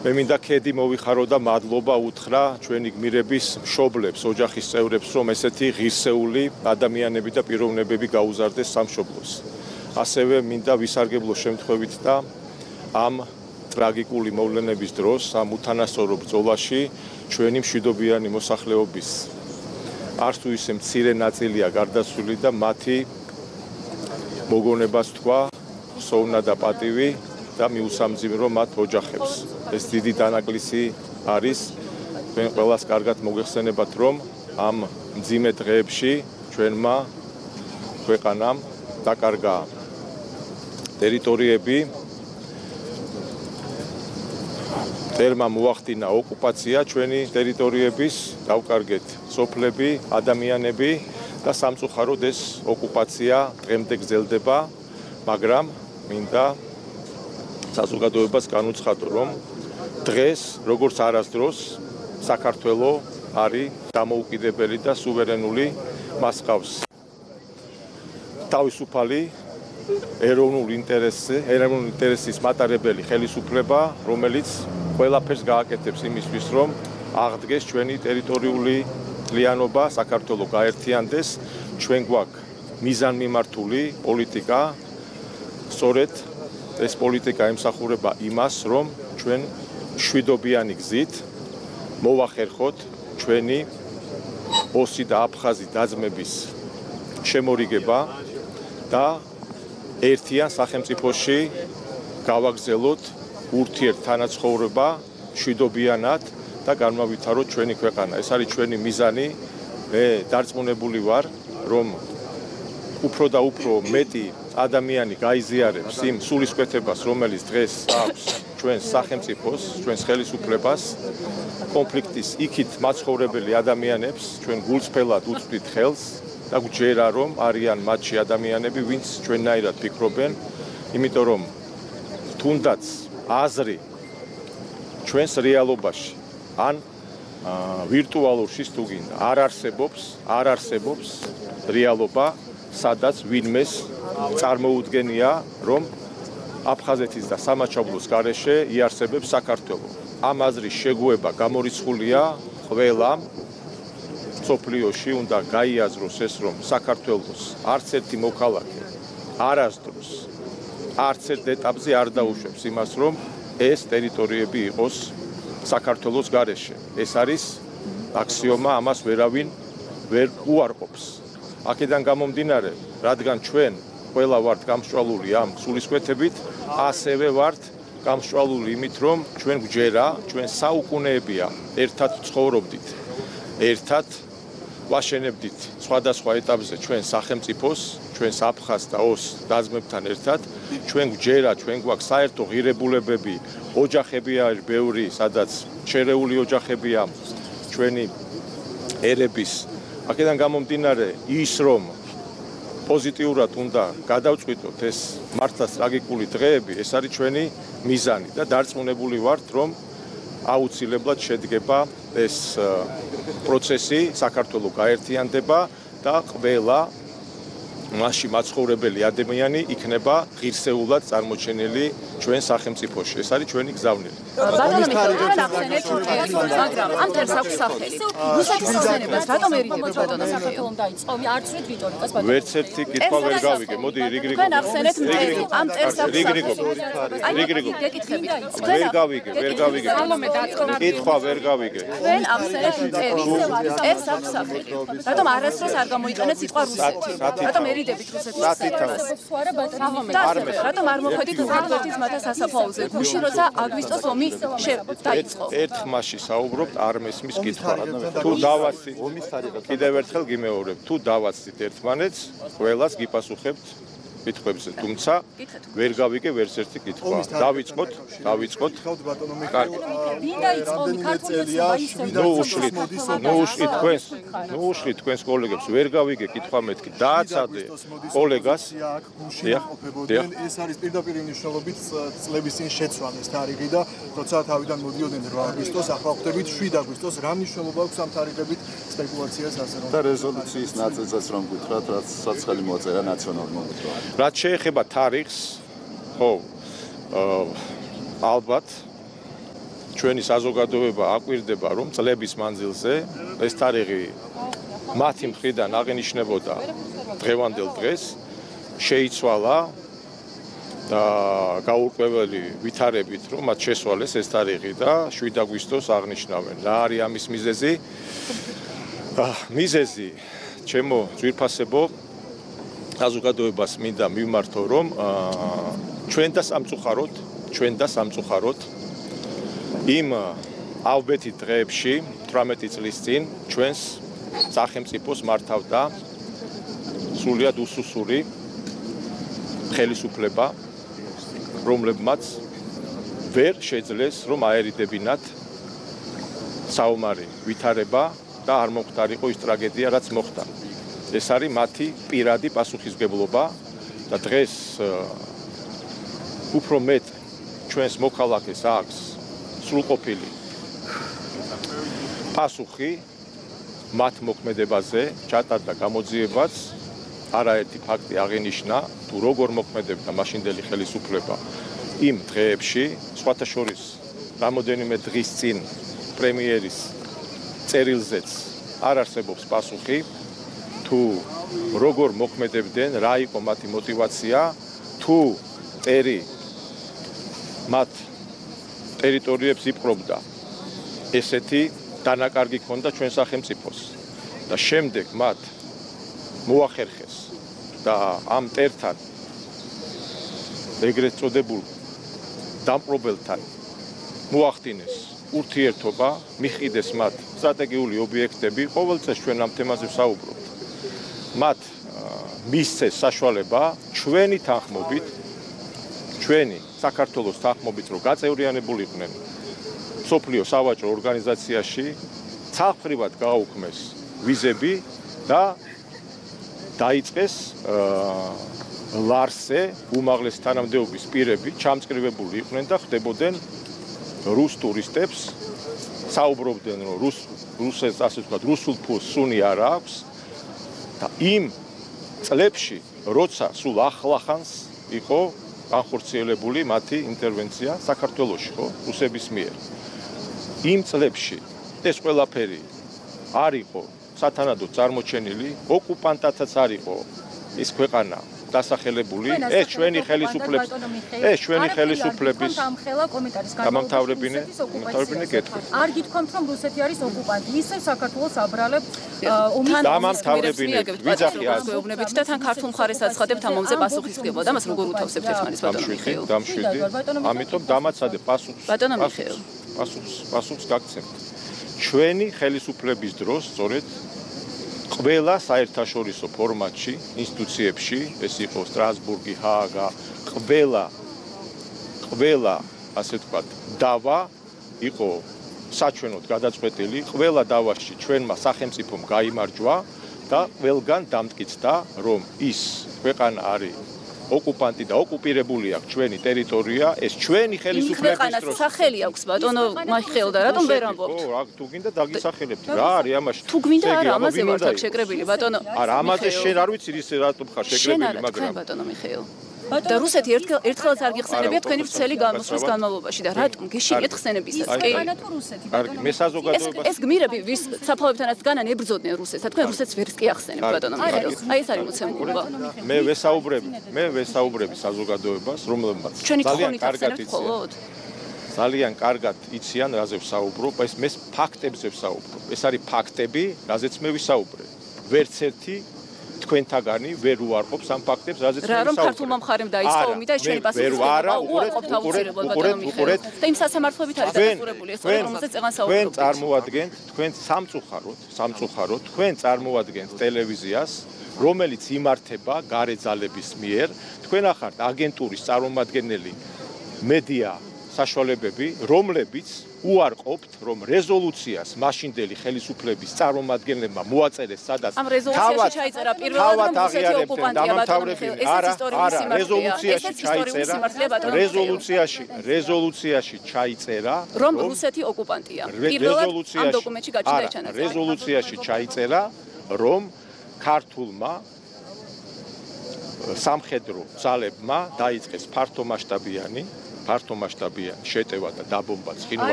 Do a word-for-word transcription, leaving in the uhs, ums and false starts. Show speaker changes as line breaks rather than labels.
მე მინდა ქედი მოვიხარო და მადლობა უთხრა ჩვენი გმირების მშობლებს, ოჯახის წევრებს, რომ ესეთი ღირსეული ადამიანები და პიროვნებები გაუზარდეს სამშობლოს. ასევე მინდა ვისარგებლო შემთხვევით და ამ ტრაგიკული მოვლენების დროს, ამ უთანასწორო ბრძოლაში ჩვენი მშვიდობიანი მოსახლეობის არც თუ ისე მცირე ნაწილია გარდაცვლილი და მათი მოგონებას თქვა სოვნა და პატივი და მიუსამძიმრო მათ ოჯახებს. ეს დიდი დანაკლისი არის. თქვენ ყველას კარგად მოგეხსენებათ, რომ ამ მძიმე დღეებში ჩვენმა ქვეყანამ დაკარგა ტერიტორიები, წერმა მოახდინა ოკუპაცია ჩვენი ტერიტორიების, დავკარგეთ სოფლები, ადამიანები და სამწუხაროდ ეს ოკუპაცია დღემდე გრძელდება, მაგრამ მინდა საზოგადოებას განუცხადო, რომ დღეს, როგორც არასდროს, საქართველოს არის დამოუკიდებელი და სუვერენული, მას ჰყავს თავისუფალი ეროვნული ინტერესი, ეროვნული ინტერესის მატარებელი ხელისუფლება, რომელიც ყველაფერს გააკეთებს იმისთვის, რომ აღდგეს ჩვენი ტერიტორიული ძალიანობა, საქართველო გაერთიანდეს, ჩვენ გვაქვს მიზანმიმართული პოლიტიკა, სწორედ ეს პოლიტიკა ემსახურება იმას, რომ ჩვენ მშვიდობიანი გზით მოვახერხოთ ჩვენი ოსი და აფხაზი დაძმების შემორიგება და ერთიან სახელმწიფოში გავაგზავნოთ ურთიერთ თანაცხოვრება მშვიდობიანად და განმავითაროთ ჩვენი ქვეყანა. ეს არის ჩვენი მიზანი. მე დარწმუნებული ვარ, რომ უფრო და უფრო მეტი ადამიანი გაიზიარებს იმ სულისკვეთებას, რომელიც დღეს აქვს ჩვენს სახელმწიფოს, ჩვენს ხელისუფლებას, კონფლიქტის იქით მაცხოვრებელი ადამიანებს, ჩვენ გულწრფელად უწვდით ხელს და გვჯერა, რომ არიან მათში ადამიანები, ვინც ჩვენნაირად ფიქრობენ, იმიტომ რომ თუნდაც აზრი ჩვენს რეალობაში ან ვირტუალურში თუ გინდა არ არსებობს, არ არსებობს რეალობა, სადაც ვინმეს წარმოუდგენია, რომ აფხაზეთის და სამაჩაბლოს გარეშე იარსებებს საქართველო. ამ აზრის შეგუება გამორიცხულია ყველამ სოფლიოში, უნდა გაიაზროს ეს, რომ საქართველოს არც ერთი მოქალაქე არასდროს არც ერთ ეტაპზე არ დაუშვებს იმას, რომ ეს ტერიტორიები იყოს საქართველოს გარეშე. ეს არის აქსიომა, ამას ვერავინ ვერ უარყოფს. აქედან გამომდინარე, რადგან ჩვენ ყველა ვართ გამსჭვალული ამ სულისკვეთებით, ასევე ვართ გამსჭვალული იმით, რომ ჩვენ გვჯერა, ჩვენ საუკუნეებია ერთად ცხოვრობდით, ერთად ვაშენებდით სხვადასხვა ეტაპზე ჩვენ სახელმწიფოს, ჩვენს აფხაზ და ოს დაძმებთან ერთად, ჩვენ გვჯერა, ჩვენ გვაქვს საერთო ღირებულებები, ოჯახები არის ბევრი, სადაც შერეული ოჯახებია ჩვენი ერების. აქედან გამომდინარე ის, რომ პოზიტიურად უნდა გადავწყვიტოთ ეს მართლაც ტრაგიკული დღეები, ეს არის ჩვენი მიზანი და დარწმუნებული ვართ, რომ აუცილებლად შედგება ეს პროცესი, საქართველო გაერთიანდება და ყველა მასში მაცხოვრებელი ადამიანი იქნება ღირსეულად წარმოჩენილი ჩვენ სახელმწიფოში. ეს არის ჩვენი გზავნილი.
ბატონო მიხეილ, ახსენეთ მაგრამ ამ თერს აქვს სახელი. რუსეთის ხსენებას რატომ ერიდებთ ბატონო მიხეილ?
დაიწყო, არც ერთ რიტორიკას ბატონო.
ვერც ერთი კითხვა ვერ გავიგე. მოდი რიგრიგო.
თქვენ ახსენეთ მტერი, ამ ტერს აქვს სახელი.
რიგრიგო.
გეკითხებით.
ვერ გავიგე, ვერ გავიგე. კითხვა ვერ გავიგე.
თქვენ ახსენეთ მტერი. ტერს აქვს სახელი. რატომ არასდროს არ გამოიყენეთ სიტყვა რუსეთი? რატომ ერიდებით რუსეთის ხსენებას? რატომ არ მოხვედით ხალხის მათას სასაფლაოზე? გუში როცა აგვისტოს ომი დაიწყო.
ერთ ხმაში საუბრობთ, არ მესმის კითხვა. თუ დავაცით, კიდევ ერთხელ გიმეორებ, თუ დავაცით ერთმანეთს, ყველას გიპასუხებთ კითხვებზე, თუმცა ვერ გავიგე ვერც ერთი კითხვა. დავიწყოთ, დავიწყოთ. კარგი.
ვინ დაიწყო ქართულში მაისები?
ნუ უშლით, ნუ უშლით თქვენს, ნუ უშლით თქვენს კოლეგებს, ვერ გავიგე კითხვა მეთქი. დააცადე კოლეგას. დიახ.
ეს არის პირდაპირ მნიშვნელობით წლების წინ შეცვალა ეს თარიღი და როცა თავიდან მოდიოდნენ რვა აგვისტოს, ახლა ხვდებით შვიდ აგვისტოს, რა მნიშვნელობა აქვს ამ თარიღებით სპეკულაციას ასე რომ
და რეზოლუციის ნაწილსაც რომ გითხრათ, რაც საცხელი მოწერა ნაციონალურ მომხრეებმა.
რაც შეეხება თარიღს, ხო, ალბათ ჩვენი საზოგადოება აკვირდება, რომ წლების მანძილზე ეს თარიღი მათი მხრიდან აღინიშნებოდა დღევანდელ დღეს, შეიცვალა და გაურკვეველი ვითარებით, რომ მათ შესვალეს ეს თარიღი და შვიდ აგვისტოს აღნიშნავენ. რა არის ამის მიზეზი? მიზეზი, ჩემო ძვირფასებო, საზოგადოებას მინდა მივმართო, რომ ჩვენ და სამწუხაროდ, ჩვენ და სამწუხაროდ იმ ალბეთი დღეებში, თვრამეტი წლის წინ, ჩვენს სახელმწიფოს მართავდა სრულიად უსუსური ხელისუფლება, რომლებმაც ვერ შეძლეს, რომ აერიდებინათ საომარი ვითარება და არ მოხდარიყო ის ტრაგედია, რაც მოხდა. ეს არის მათი პირადი პასუხისმგებლობა და დღეს უფრო მეტ ჩვენს მოქალაქეს აქვს სრულყოფილი პასუხი მათ მოქმედებაზე, ჩატარდა გამოძიებაც, არაერთი ფაქტი აღინიშნა, თუ როგორ მოქმედებდა მაშინდელი ხელისუფლება იმ დღეებში, სხვათა შორის რამოდენიმე დღის წინ პრემიერის წერილზეც არ არსებობს პასუხი, თუ როგორ მოქმედებდნენ, რა იყო მათი мотиваცია, თუ ტერი მათ ტერიტორიებს იპყრობდა, ესეთი დანაკარგი ჰქონდა ჩვენ სახელმწიფოს და შემდეგ მათ მოახერხეს და ამ ტერთან ეგრეთ წოდებულ დამპყრობელთან მოახდინეს ურთიერთობა, მიხიდეს მათ სტრატეგიული ობიექტები, ყოველწელს ჩვენ ამ თემაზე ვსაუბრობთ. მათ მისცეს საშუალება ჩვენი თანხმობით, ჩვენი საქართველოს თანხმობით, რომ გაწევრიანებულიყვნენ მსოფლიო სავაჭრო ორგანიზაციაში, ცალფრივად გააუქმეს ვიზები და დაიწყეს ლარსე უმაღლესი თანამდებობის პირები ჩამწკრივებული იყვნენ და ხდებოდნენ რუს ტურისტებს, საუბრობდნენ, რომ რუს რუსეთს ასე ვთქვათ, რუსულ ფულს სუნი არ აქვს და იმ წლებში, როცა სულ ახლახანს იყო განხორციელებული მათი ინტერვენცია საქართველოში, ხო, რუსების მიერ. იმ წლებში ეს ყველაფერი არ იყო სათანადოდ წარმოჩენილი, ოკუპანტათაც არ იყო ის ქვეყანა დასახელებული, ეს ჩვენი ხელისუფლების ეს ჩვენი ხელისუფლების გამამთავრებინე გამამთავრებინე კითხვა.
არ გითქვამთ, რომ რუსეთი არის ოკუპანტი, ისევ საქართველოს აბრალებს
გამამთავრებინე ვიძახი
ასეუბნებით და თან ქართულ მხარეს აცხადებთ ამ მომზე პასუხისმგებლობა და მას როგორ უთავსებთ ერთმანეთს ბატონო მიხეილ?
დამშვიდი, ამიტომ დამაცადე პასუხს.
ბატონო მიხეილ.
პასუხს პასუხს გაგცემთ. ჩვენი ხელისუფლების დროს სწორედ ყველა საერთაშორისო ფორმატში, ინსტიტუციებში, ეს იყო სტრასბურგი, ჰააგა, ყველა ყველა, ასე ვთქვათ, დავა იყო საჩვენოდ გადაწყვეტილი, ყველა დავაში ჩვენმა სახელმწიფომ გაიმარჯვა და ყველგან დამტკიცდა, რომ ის ქვეყანა არის ოკუპანტი და ოკუპირებული აქვს ჩვენი ტერიტორია, ეს ჩვენი ხელისუფლების
ქვეყანას სახელი აქვს ბატონო მიხეილ და რატომ ვერ ამბობთ?
ხო, თუ გინდა დაგისახელებთ. რა არის ამაში?
თუ გვინდა არა, ამაზე ვართ აქ შეკრებილი ბატონო.
არა, ამაზე შენ არ ვიცი ის რატომ ხარ შეკრებილი, მაგრამ
ბატონო მიხეილ. და რუსეთი ერთხელ ერთხელაც არ გიხსენებია თქვენი ვრცელი გამოსვლის განმავლობაში და რატომ გეშინიეთ ხსენებისას? კი.
თუ რუსეთი
კარგი, მე საზოგადოებას
ეს გმირები ვის საფლავებთანაც განან ებრძოდნენ რუსეთს, და თქვენ რუსეთს ვერც კი ახსენებთ ბატონო მიხეილ. აი ეს არის მოცემულობა.
მე ვესაუბრები, მე ვესაუბრები საზოგადოებას, რომლებმაც
ჩვენი
ძალიან
თხოვნით
კარგად
ახსენებთ
იციან.
მხოლოდ?
ძალიან კარგად იციან, რაზე ვსაუბრობ, ეს მე ფაქტებზე ვსაუბრობ. ეს არის ფაქტები, რაზეც მე ვისაუბრე. ვერც ერთი თქვენთაგანი ვერ უარყოფს ამ ფაქტებს, რაზეც მე
რა რომ
ვისაუბრე.
ქართულმა მხარემ დაიწყო ომი და ეს ჩვენი პასუხისმგებლობა უარყოფთ აუცილებლად ბატონო მიხეილ. და იმ სასამართლოებით არის დახურებული ეს თორემ რომელზეც წეღან
თქვენ
საუბრობთ.
წარმოადგენთ, თქვენ სამწუხაროდ, სამწუხაროდ, თქვენ წარმოადგენთ ტელევიზიას, რომელიც იმართება გარე ძალების მიერ, თქვენ ახართ აგენტურის წარმომადგენელი მედია საშუალებები, რომლებიც უარყოფთ, რომ რეზოლუციას მაშინდელი ხელისუფლების წარმომადგენლებმა მოაწერეს, სადაც
ამ რეზოლუციაში ჩაიწერა პირველად რომ რუსეთი ოკუპანტია ბატონო მიხეილ. ესეც ისტორიული სიმართლეა.
რეზოლუციაში
ესეც ისტორიული სიმართლეა ბატონო მიხეილ.
რეზოლუციაში, რეზოლუციაში ჩაიწერა,
რომ რუსეთი ოკუპანტია. პირველად ამ დოკუმენტში გაჩნდა ჩანაწერი.
რეზოლუციაში ჩაიწერა, რომ ქართულმა სამხედრო ძალებმა დაიწყეს ფართომასშტაბიანი ფართომასშტაბიანი შეტევა და დაბომბა ცხინვალის